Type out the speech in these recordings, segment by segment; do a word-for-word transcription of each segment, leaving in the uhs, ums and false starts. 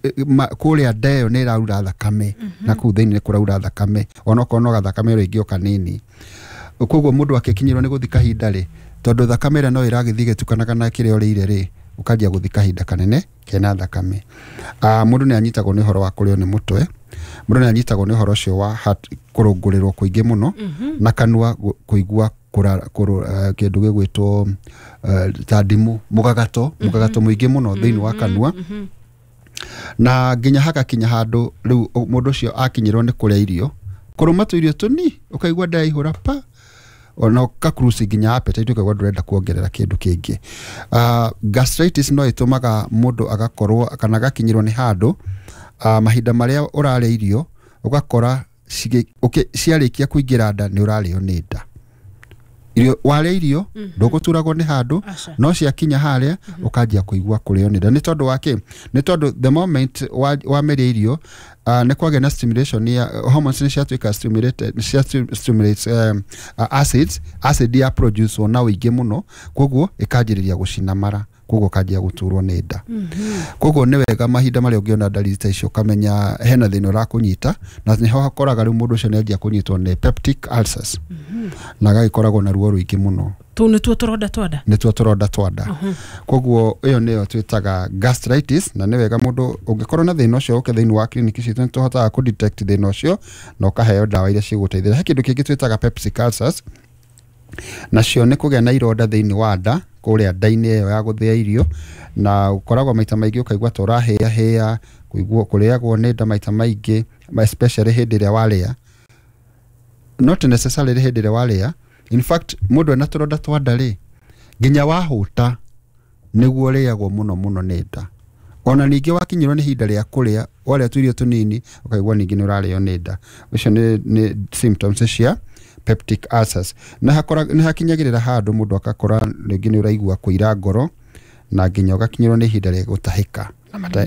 Kũrĩa nda ĩyo nĩ ĩraura thakame, na kũu thĩinĩ nĩ kũraura thakame, onokorwo no gathakame rĩngĩ o kanini. Koguo mũndũ akĩkinyĩrwo nĩ gũthi kahinda rĩ, tondũ thakame ĩrĩa no ĩragĩthiĩ ĩgĩtukanaga na kĩrĩa ũrĩire rĩ, ũkanjia gũthi kahinda kanene kena thakame. uh, mũndũ nĩ anyitagwo nĩ ũhoro wa kũrĩo nĩ mũtwe, mũndũ nĩ anyitagwo nĩ ũhoro ũcio wa heart kũrũngũrĩrwo kũingĩ mũno, na kanua kũigua kĩndũ gĩgwĩtwo uh, ta ndimũ, mũgagato mũgagato mũingĩ mũno thĩinĩ wa kanua, na nginya hagakinya handũ rĩu mũndũ ũcio akinyĩrwo nĩ kũrĩa irio, kũrũma tũirio tũni ũkaigua nda yaihũra pa, ona ũkakuruci nginya appetite, ũkaigua ndũrenda kuongerera kĩndũ kĩngĩ. Uh, gastritis no ĩtũmaga mũndũ agakorwo kana agakinyĩrwo nĩ handũ uh, mahinda marĩa ũrarĩa irio ũgakora ciarĩkia kũingĩra nda nĩ ũrarĩo nĩ nda. Irio warĩa irio ndũgũturagwo nĩ handũ, no ciakinya harĩa ũkanjia kũigua kũrĩo nĩ nda. Nĩ tondũ wa kĩ? Nĩ tondũ the moment wameria irio uh, nĩ kwagĩa na stimulation ya hormones, nĩ ciatuĩka stimulated, cia stimulates um, uh, acids, acid ya produce na ũingĩ mũno, koguo ĩkanjĩrĩria gũcina mara, koguo ũkanjia gũturwo nĩ nda. Koguo nĩ wega mahinda marĩa ũngĩona ndariri ta icio ũkamenya hena thĩna ũrakũnyita, na nĩho hakoraga rĩu mũndũ ũcio nĩanjia kũnyitwo nĩ peptic ulcers, na agagĩkoragwo na ruo rũingĩ mũno. Tũu nĩtuo tũronda twa nda? Nĩtuo tũronda twa nda. Koguo ĩyo nĩyo twĩtaga gastritis, na nĩ wega mũndũ ũngĩkorwo na thĩna ũcio ũke thĩinĩ wa clinic citũ, nĩ tũhotaga kũ detect thĩna ũcio na ũkaheo ndawa iria cigũteithĩrĩria. He kĩndũ kĩngĩ twĩtaga peptic ulcers, nacio nĩ kũgĩa na ironda thĩinĩ wa nda kũrĩa nda-inĩ ĩyo ya gũthĩa irio, na ũkoragwo maita maingĩ ũkaigua ta ũrahĩahĩa, kũigua kũrĩagwo nĩ nda maita maingĩ, especially hĩndĩ ĩrĩa warĩa, not necessarily hĩndĩ ĩrĩa warĩa. In fact mũndũ ena tũronda twa nda rĩ, nginya wahũta nĩguo ũrĩagwo mũno mũno nĩ nda. Ona ningĩ wakinyĩrwo nĩ ihinda rĩa kũrĩa, warĩa tũirio tũnini ũkaigua ningĩ nĩ ũrarĩo nĩ nda. Ũcio nĩ, nĩ symptoms cia peptic ulcers. Na hakora nĩ hakinyagĩrĩra handũ mũndũ agakora rĩngĩ nĩ ũraigua kũira ngoro, na nginya ũgakinyĩrwo nĩ ihinda rĩa gũtahĩka,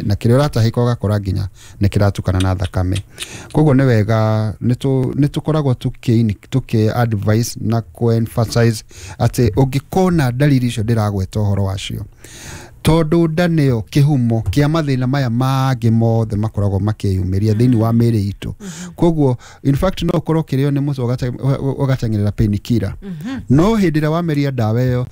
na kĩrĩa ũratahĩka ũgakora nginya nĩ kĩratukana na thakame. Koguo nĩ wega nĩ tũkoragwo tũkĩ tũkĩ advice na kũ emphasize atĩ ũngĩkona ndariri icio ndĩragweta ũhoro wacio, tondũ nda nĩyo kĩhumo kĩa mathĩna maya mangĩ mothe makoragwo makĩyumĩria thĩinĩ wa mĩĩrĩ itũ. Koguo in fact no ũkorwo ũkĩrĩo nĩ mũtwe ũgateng'erera painkiller, no hĩndĩ ĩrĩa wameria ndawa ĩyo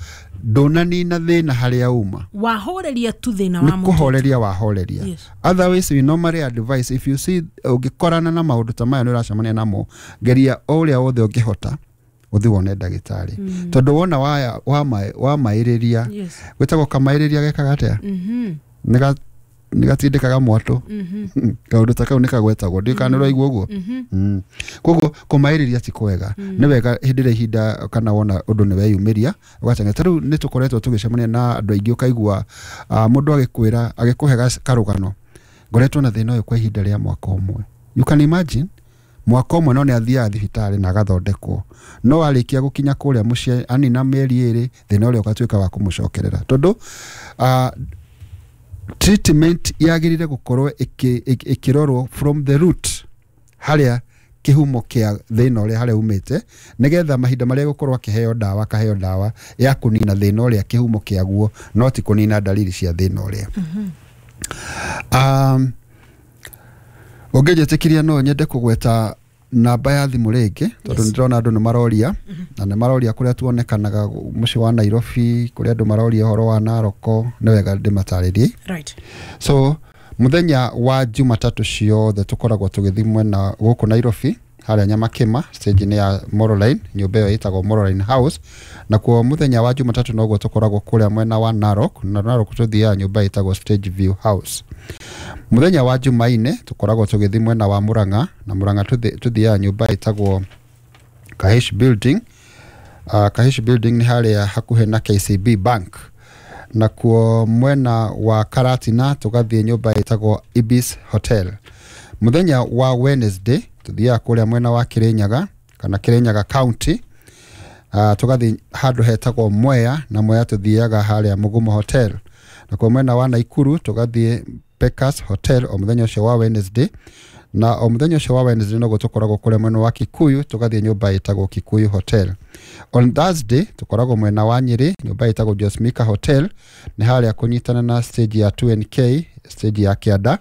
ndũnanina thĩna harĩa uma, wahoreria tu thĩna wa mũtwe, nĩ kũhoreria wahoreria. Otherwise we normally advise if you see ũngĩkorana na maũndũ ta maya nĩ ũracemania namo, geria o ũrĩa wothe ũngĩhota ũthiĩ wone ndagĩtarĩ, tondũ wona wamaĩrĩria, gwĩtagwo kamaĩrĩria gekaga atĩa, nĩ gatindĩkaga mwatũ, kaũndũ ta kau nĩ kagwetagwo, ndiũĩ kana nĩ ũraigua ũguo. Koguo kũmaĩrĩria ti kwega, nĩ wega hĩndĩ ĩrĩa ihinda kana wona ũndũ nĩ weyumĩria ũgateng'era. Ta rĩu nĩ tũkoretwo tũgĩcemania na andũ aingĩ ũkaigua mũndũ agĩkwĩra agĩkũhe karũgano, ngoretwo na thĩna ũyũ kwa ihinda rĩa mwaka ũmwe. You can imagine mwaka ũmwe no nĩ athiaga thibitarĩ na agathondekwo, no arĩkia gũkinya kũrĩa mũciĩ anina mĩeri ĩrĩ thĩna ũrĩa ũgatuĩka wa kũmũcokerera, tondũ uh, treatment yagĩrĩire gũkorwo ĩkĩrorwo from the root, harĩa kĩhumo kĩa thĩna ũrĩa harĩa umĩte, nĩgetha mahinda marĩa gũkorwo akĩheo ndawa akaheo ndawa ya kũnina thĩna ũrĩa kĩhumo kĩaguo, no ti kũnina ndariri cia thĩna ũrĩa. um, ũngĩnjĩtĩkĩria no nyende kũgweta namba ya thimũ rĩngĩ, tondũ nĩ ndĩrona andũ nĩ maroria, na nĩ maroria kũrĩa tuonekanaga mũciĩ wa Nairobi, kũrĩa andũ maroria ũhoro wa Naroko, nĩ wega ndĩmatarĩrie. Right. So mũthenya wa Jumatatũ ciothe tũkoragwo tũgĩthiĩ mwena gũkũ Nairobi, harĩa Nyamakĩma stage-inĩ ya Moroline, nyũmba ĩyo ĩtagwo Moroline House. Nakuo mũthenya wa Jumatatũ noguo tũkoragwo kũrĩa mwena wa Narok, na Narok tũthiaga nyũmba ĩtagwo Stage View House. Mũthenya wa Jumaine tũkoragwo tũgĩthiĩ mwena wa Murang'a, na Murang'a tũthiaga nyũmba ĩtagwo Kahish Building. Uh, Kahish Building nĩ harĩa hakuhĩ na K C B Bank. Nakuo mwena wa Karatina tũgathiĩ nyũmba ĩtagwo Ibis Hotel. Mũthenya wa Wednesday tũthiaga kũrĩa mwena wa Kirinyaga kana Kirinyaga County, uh, tũgathiĩ handũ hetagwo Mwea, na Mwea tũthiaga harĩa Mugumo Hotel. Nakuo mwena wa Naikuru tũgathiĩ Pekas Hotel o mũthenya ũcio wa Wednesday, na o mũthenya ũcio wa Wednesday noguo tũkoragwo kũrĩa mwena wa Kikuyu tũgathiĩ nyũmba ĩtagwo Kikuyu Hotel. On Thursday tũkoragwo mwena wa Nyeri nyũmba ĩtagwo Josmika Hotel, nĩ harĩa kũnyitana na stage ya two N K, stage ya Kĩanda.